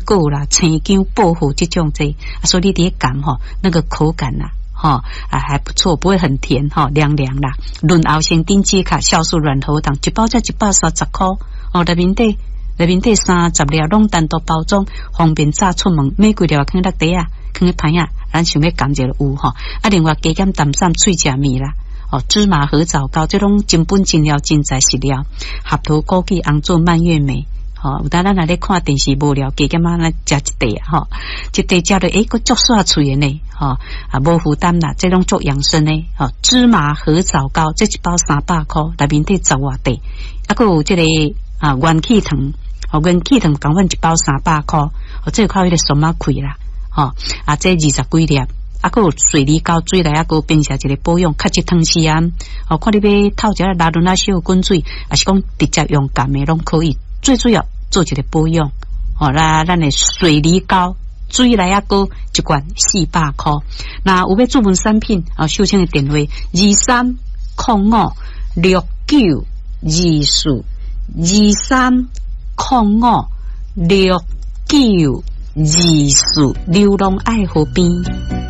果啦、青薑、薄荷這種這，所以你佇咧含吼，那個口感啦，吼啊還不錯，不會很甜吼，涼涼啦。潤喉生頂止咳酵素軟喉糖，一包才130箍哦，內面底內面底30粒，攏單獨包裝，方便早出門，買幾粒囥佇袋仔，囥佇旁仔，咱想欲含者就有吼。啊，另外加減淡散喙食物啦。哦，芝麻褐藻膏，這攏真本真料真材實料，合桃枸杞紅棗蔓越莓。吼，有當咱若咧看電視無聊，加減仔來食一塊啊，吼，一塊食落，欸，閣足煞喙的呢，吼，啊，無負擔啦，這攏足養生的，吼，芝麻褐藻膏，這一包300箍，內面底十外塊，啊，閣有這個啊元氣糖，吼，元氣糖仝款一包300箍，哦，這個靠彼個松仔開啦，吼，啊，這20幾粒。啊，閣有水梨膏，水內仔膏變成一個保養，較一湯匙啊。哦，看你欲透一下拉潤仔小滾水，抑是講直接用含的攏可以。最主要做一個保養。哦，那咱的水梨膏，水內仔膏一罐400箍。若有欲注文產品，哦，秀清的電話23056924，23056924，流浪愛河邊。